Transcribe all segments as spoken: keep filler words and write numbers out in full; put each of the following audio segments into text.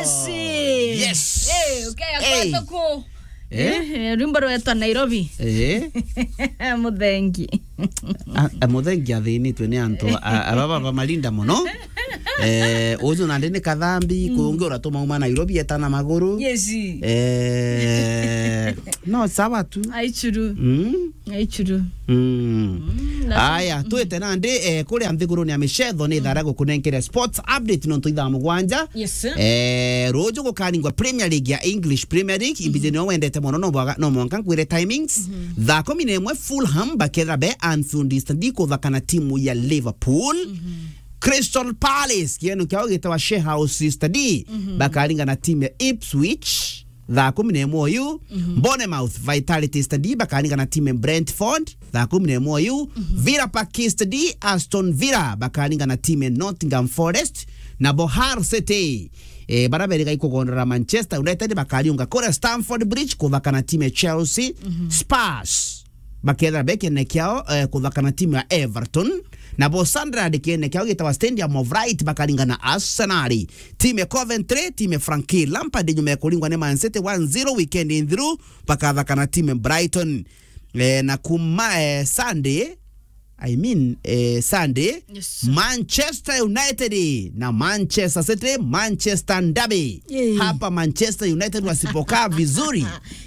Yes. Eh, okay, hey. Akwata ku. Eh? Eh, rwimbo rwetwa Nairobi. Eh? Muthengi. A, a, Muthengi athinitwe ni antu a, a, baba bamalinda muno. Eh, uju nandi ni kathambi, mm, kungi uratumauma Nairobi eta na maguru. Yes. Eh, no, sawa tu. Aichuru. Mm. Aichuru. Mm. Mm, lazima. Aya, twite nandi, eh, kuria nthiguruni ya micetho ni thara gukunenkere sports update nontu ithaa mugwanja. Yes, sir. Eh, ruju gukaningwa Premier League ya English Premier League, mhm, imbiji nio wendete muno, no bwaga, no mwanka nkwire timings. Mhm. Thaa kumi na imwe Fulham bakethira be Anfield Stadium kuthaka na timu ya Liverpool. Mhm. Crystal Palace, kieno kiao gitawa Shehouse Stadium, mhm, bakaringa na timu ya Ipswich. Thaa kumi na imwe uyu, mhm, Bournemouth Vitality Stadium bakaringa na timu ya Brentford. Thaa kumi na imwe uyu, mhm, Villa Park Stadium Aston Villa bakaringa na timu ya Nottingham Forest. Nabo Hull City, eh, bara beri gaikugondora Manchester United bakariunga kuria Stamford Bridge kuthaka na timu ya Chelsea. Mhm. Spurs bakethira be kiene kiao, eh, kuthaka na timu ya Everton. Nabo Sunderland kiene kiao gitawa Stadium of Light bakaringa na Arsenal. Timu ya Coventry, timu ya Frankie Lampard nyuma ya kuringwa ni Man City one zero weekend in through, bakathaka na timu ya Brighton. Eh, na kuma, eh, Sunday, I mean, eh, Sunday, yes, Manchester United na Manchester City, Manchester Derby. Eh. Hapa Manchester United wasipokaa vizuri,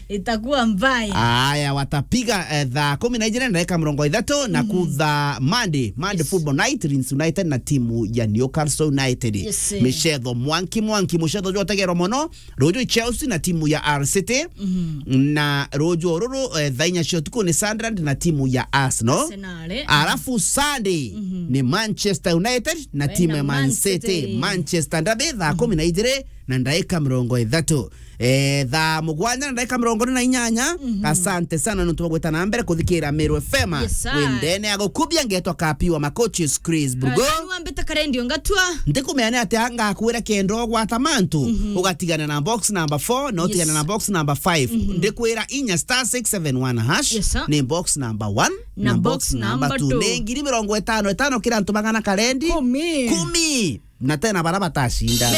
itakuwa mbaya. Aya, watapiga, eh, thaa kumi na ijiri na dakika mirongo ithatu na, mhm, kutha Monday, Monday, yes, football night, Leeds United na timu ya Newcastle United. Yes, sir. Micetho mwanki mwanki, mucetho jwotegerwa muno. Ruju Chelsea na timu ya Hull City. Mhm. Na ruju ruru, eh, thaa inya cia utuku ni Sunderland na timu ya Arsenal. Arsenal, eh. Arafu Sunday, mhm, ni Manchester United na, eh, timu ya Man City. Man City. Manchester Derby thaa, mhm, kumi na ijiri na ndaika mirongo ithatu. Eh, thaa mugwanja na ndaika mirongo iri na inyanya. Mhm. Asante sana nontu bwa gwita na mbere kuthikira Meru F M. Yes, sir. Wendene ya gukubia ngetwa Kapi wa Makochi Chris Brugo. Aya, ni wambite karendio ngatua. Ndikumenya ni atia ngakwira kenda ugwata mantu, mhm, ugatigana na box number four na, yes, utigana na box number five. Mhm. Ndikwira inya star six seven one hash, yes, sir, ni box number one na, na box, box number number two. Ni ngiri mirongo itano itano kira antu magana karendi. Kumi. Kumi. Na tena bara batacinda.